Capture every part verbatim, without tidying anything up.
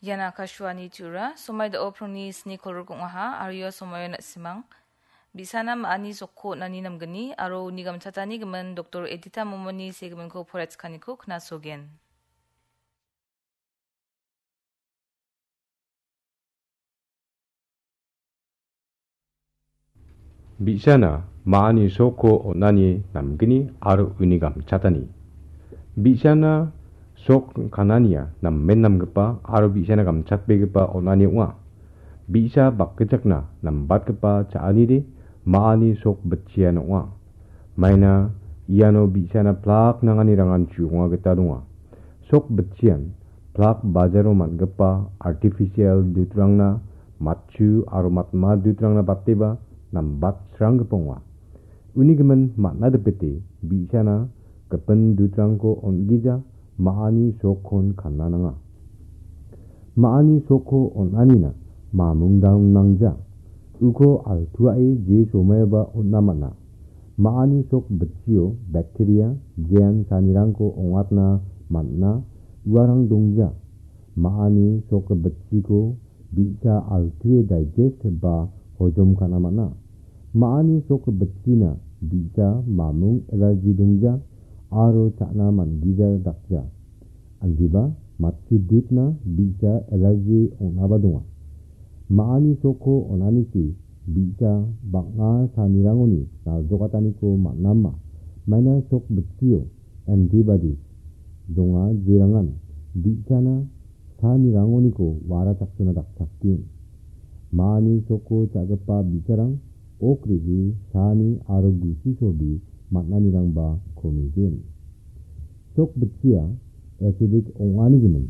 Ian Akashvani Tura, somai da·o prongni sni kolgrikong ong·aha, aro ia somaio na·simang bi·sana ma·ani sokko on·ani namgni, aro uni gamchatani gimin Doktor Edita Momoni segiminko poraichikaniko knasogen. Bi·sana ma·ani sokko on·ani namgni aro uni gamchatani. Bi·sana sok kanania namen namgipa aro bi·sana gamchatbegipa on·ani ong·a. Bi·sa bakgichakna nambatgipa cha·anide ma·ani sok bitchian ong·a. Maina iano bi·sana plak nanganirangan chu·onga gita donga. Sok bitchian plak bajaro man·gipa artificial dutrangna matchu aro matma dutrangna bateba nambat sranggipa ong·a. Uni gimin man·na dipete bi·sana gipin dutrangko on·gija ma·ani sokkon kana nanga. Ma·ani sokko on·anina mamung dam nangja. Uko altuae je somaioba on·na man·a. Ma·ani sok bitchio bacteria, jean sanirangko ong·atna man·a, uarang dongja. Ma·ani sok bitchiko bi·sa altue digest ba hojom ka·na man·a. Ma·ani sok bitchina bi·sa mamung allergy dongja aro cha·na man·gija dakja. Andiba matchi dutna bi·sa allergy ong·naba donga. Ma·ani sokko on·anichi bi·sa bang·a sanirangoni naljokataniko man·ama. Maina sok bitchio antibodies donga, jerangan bi·sana sanirangoniko wara chaksona dakchakgen. Ma·ani soko cha·gipa bi·sarang ok re·e sani aro gusi sobi man·anirangba komigen. Sok bitchia acidic ong·ani gimin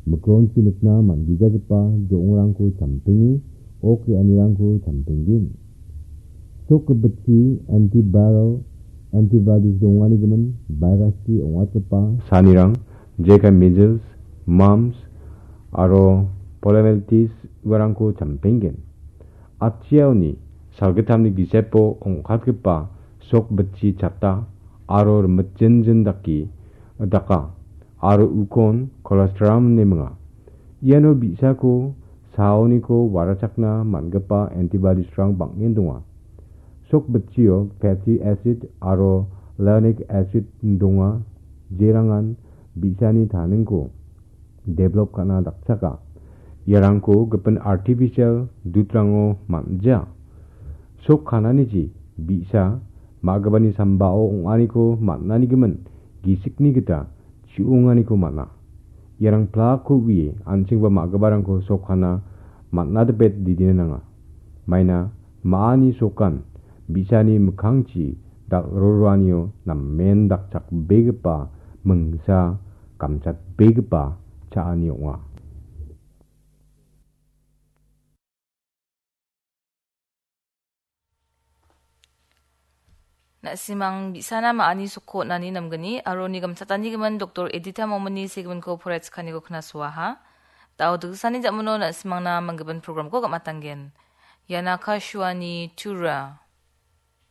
mikronchi nikna man·gijagipa jo·ongrangko champenge ok re·anirangko champenggen. Sok bitchi antiviral antibodies dongani gimin viruschi ong·atgipa sanirang, jekai measles, mumps aro poliomyelitis uarangko champenggen. Atchiaoni salgittamni gisepo ong·katgipa sok bitchi chata aro rimitjinjin dake daka aro ukon colostrum ine minga. Iano bi·sako saoniko warachakna man·gipa antibodiesrang bang·en donga. Sok bitchio fatty acid aro lactic acid donga, jerangan bi·sani taningko develop ka·na dakchaka. Iarangko gipin artificial dutrango man·ja. Sok kananiji bi·sa ma·gipani sambao ong·aniko man·ani gimin gisikni gita chu·onganiko man·a. Iarang plakko uie an·chingba ma·giparangko sok kana man·a dipet didina nanga. Maina ma·ani sokan bi·sani mikkangchi dal·roroanio namen dakchakbegipa mingsa gamchatbegipa cha·ani ong·a. Na·simang bi·sana ma·ani sokko on·ani namgni aro uni gamchatani gimin Doktor Edita Momoni segiminko poraichikaniko knasoaha. Da·o dikgisani ja·mano na·simangna manggipa programko gam·atanggen. Ian Akashvani Tura.